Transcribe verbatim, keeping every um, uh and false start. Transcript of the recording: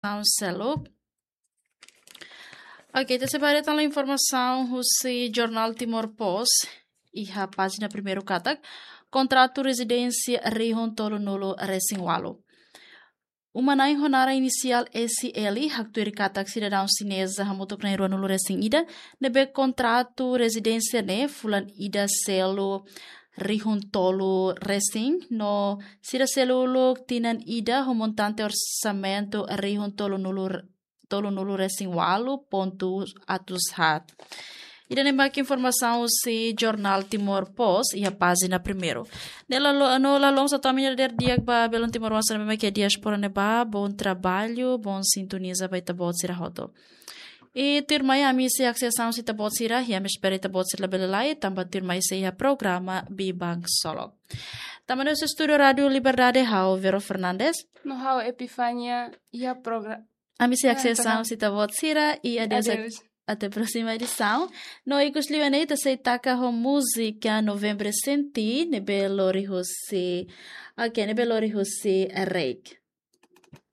informasaun seluk. Oke, ita sei bá haree tan informasaun husi Jornál Timor Post iha pájina primeiru katak kontratu rezidénsia rihun tolunulu resin ualu. Uma na'in ho naran inisiál S L haktuir katak sidadaun xineza hamutuk na'in ruanulu resin ida ne'ebé kontratu rezidénsia ne'e fulan ida selu rihun tolu resin no sira selu uluk tinan ida ho montante orsamentu rihun tolunulu tolunulu resin ualu pontu atus haat. Ida-ne'e mak informasaun husi Jornál Timor Post iha pájina primeiru. Ne'e la lo-, no la loos atu ami-nia dadeer di'ak ba belun timoroan sira ne'ebé mak iha diáspora ne'ebá, bom trabalho, bom sintonia ba ita-boot sira hotu. I tuirmai ami sei haksesaun husi ita-boot sira, i ami espera ita-boot sira labele la'o, tanba tuirmai sei iha programa Biban Ksolok. Tanba ne'e husi estúdiu Rádiu Liberdade, ha'u Vero Fernandes. No ha'u Epifania, iha progra-, ami sei haksesaun husi ita-boot sira, i adeus. Adeus. Até próxima edição. No ikus liu ne'e ita sei taka ho múzika Novembro Senti, ne'ebé lori husi, oke, ne'ebé lori husi Reik.